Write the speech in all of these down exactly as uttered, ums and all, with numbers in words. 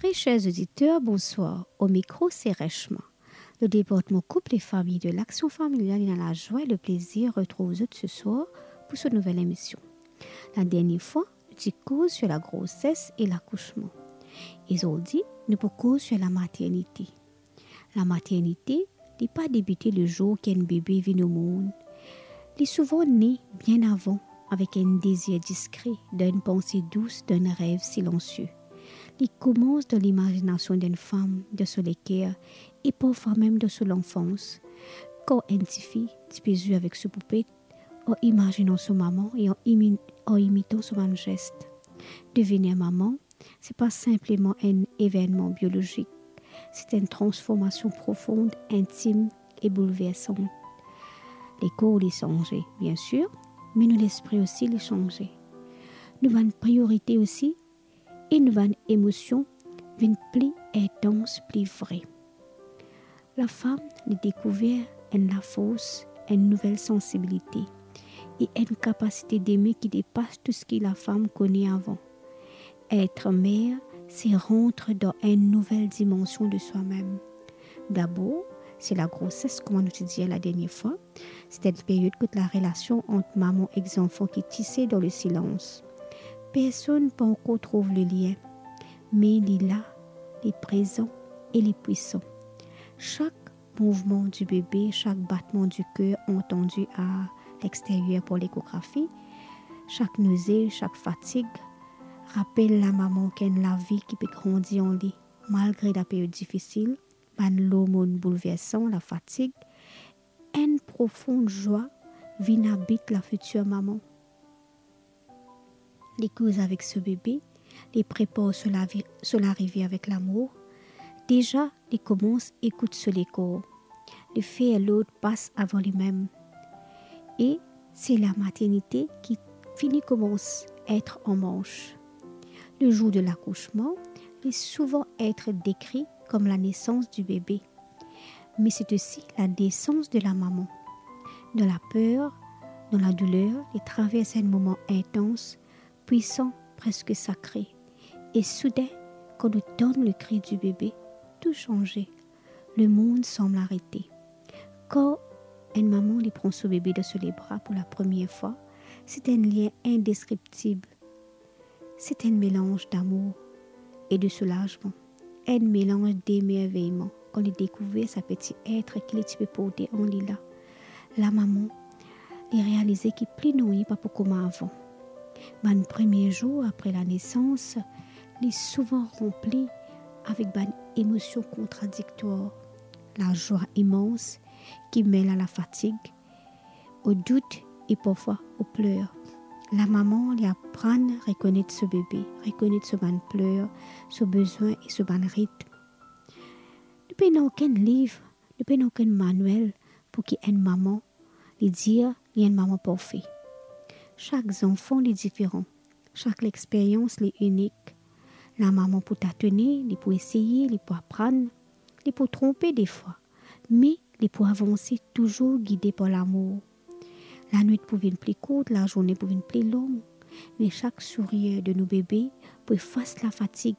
Mes chers auditeurs, bonsoir. Au micro, c'est Reshma. Le département couple et famille de l'Action Familiale ena lazwa e le plezir retrouv zot ce soir pour so nouvel emision. Ladernie fwa, nou ti koz sur la grossesse et l'accouchement. E zordi, nou pou koz sur la maternité. Lamaternite, li pa debite le zour ki enn bebe vinn omond. Li souvan ne bien avan, avek enn dezir diskre, dan enn panse dous, dan enn rev silansie. Li koumans dan limazinasion d'enn fam, dan so leker, e parfwa mem dan so lanfans. Kan enn tifi ti pe zwe avek so poupet, an imazinan so mama e an imi-, an imitan so bann zes. Devenir mama, se pa sinpleman enn evennman biolozik, se enn transformasion profond, intim e boulversan. Lekor li sanze, bien sir, me nou lespri osi li sanze. Nou bann priorite osi, e nou bann emosion vinn pli intans, pli vre. Lafam, li dekouver enn lafors, enn nouvel sansibilite e enn kapasite deme ki depas tou seki lafam kone avan. Etre mer, se rant dan enn nouvel dimansion de swa mem. Dabor, se lagroses, kouma nou ti dir ladernie fwa, se enn period kot larelasion ant mama ek zanfan ki tise dan lesilans. Personn pa ankor trouv lelien, me li la, li prezan e li pwisan. Sak mouvman di bebe, sak batman di ker antandi a lexteryer par lekografi, sak noze, sak fatig, rapel lamama ki ena lavi ki pe grandi an li, malgre laperiod difisil, bann lormonn boulversan, lafatig, enn profon zwa vinn abit lafitir mama. Li koz avek so bebe, li prepar so lavi-, so larive avek lamour. Deza, li koumans ekout so lekor. Li fer lord pas avan limem. E se lamaternite ki fini koumans etre an mars. Le zour de lakousman, li souvan etre dekri kom lanesans di bebe. Me se osi lanesans de lamama. Dan laper, dan ladouler, li travers enn moman intans, pwisan, preske sakre. E souden, kan nou tann lekri di bebe, tou sanze. Lemond sanm arete. Kan enn mama li pran so bebe dan so lebra pou lapremier fwa, se enn lien indeskriptib. Se enn melanz damour e de soulazman, enn melanz demerveyman kan li dekouver sa peti etre ki li ti pe porte an li la. Lamama, li realize ki pli nanye pa pou kouma avan. Bann premie zour apre lanesans, li souvan ranpli avek bann emosion kontradiktwar, lazwa imans ki mel a lafatig, o dout e parfwa o pler. Lamama, li aprann rekonet so bebe, rekonet so bann pler, so bezwin e so bann ritm. Nou pena okenn liv, nou pena okenn manwel pou ki enn mama, li dir li enn mama parfe. Sak zanfan, li diferan. Sak lexperyans, li inik. Lamama pou tatone, li pou eseye, li pou aprann, li pou tronpe defwa, me li pou avanse touzour gide par lamour. Lanwit pou vinn pli kourt, lazourne pou vinn pli long, me sak sourir de nou bebe pou efas lafatig.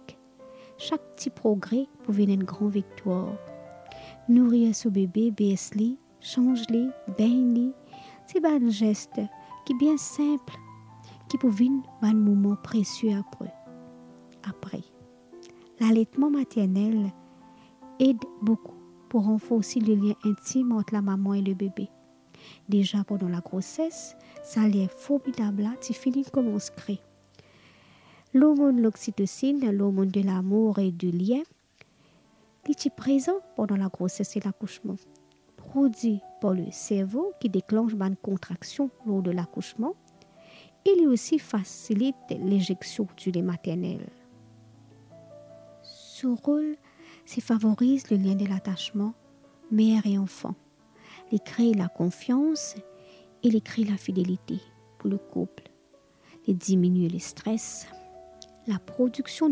Sak ti progre pou vinn enn gran viktwar. Nourir so bebe, bers li, sanz li, begn li, se bann zes ki bien sinp, ki pou vinn bann moman presie apre. Apre. Laletman maternel ed boukou pou ranforsi le lien intim ant lamama e le bebe. Deza pandan lagroses, sa lien formidab la ti fini koumans kre. Lormonn loksitosin, lormonn de lamour e de lien, li ti prezan pandan lagroses e lakousman, prodwi par le servo ki deklans bann kontraksion lor de lakousman, e li osi fasilit lezeksion di le maternel. So rol, se favoriz le lien de latasman mer e anfan. Li kre lakonfians e li kre lafidelite pou le koup. Li diminie lestres. Laprodiksion